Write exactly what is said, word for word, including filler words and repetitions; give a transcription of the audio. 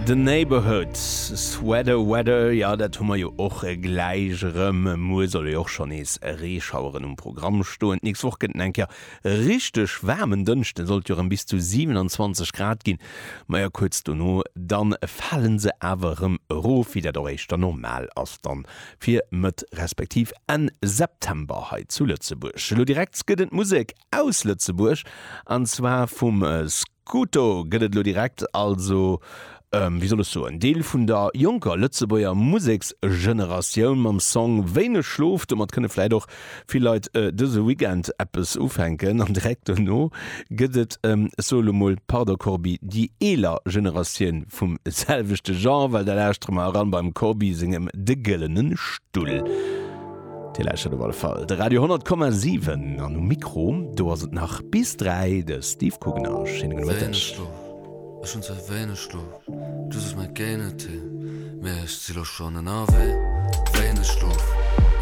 The Neighbourhood, Sweater Weather, jo dat hu mer jo och gläich erëm. Muer solle jo och schonn nees Reeschaueren um Programm stoen. D'nächst Woch gëtt et eng Kéier richteg waarmen Dënschden, sollt jo erëm bis zu siewenanzwanzeg Grad ginn. Majo kuerz dono dann fale se awer erëm erof, wéi dat och éischter normal ass dann fir Mëtt respektiv Enn September hei zu Lëtzebuerg. Elo direkt gëtt et Musek aus Lëtzebuerg an zwar vum Scooto gëtt et elo direkt, also wéi soll ech soen, Deel vun der jonker Lëtzebuerger Museksgeneratioun mam Song Wéineg Schlof. Domat kënne vläit och vill Leit dëse Weekend eppes ufänken. An direkt dono gëtt et, ech soe lo mol, pardon Corbi, déi eeler Generatioun vum selwechte Genre, well da lauschtere mer eran beim Corbi sengem De gëllene Stull. Dir lauschtert op alle Fall de Radio honnert Komma siwen an um Mikro do ass et nach bis dräi de Steve Kugner. Schéine gudde Wéineg Mëtteg. Schlof, ech hunn ze wéineg Schlof, du suchs mäi Géinetee, mee ech si lo schonn ënnerwee. Wéineg Schlof.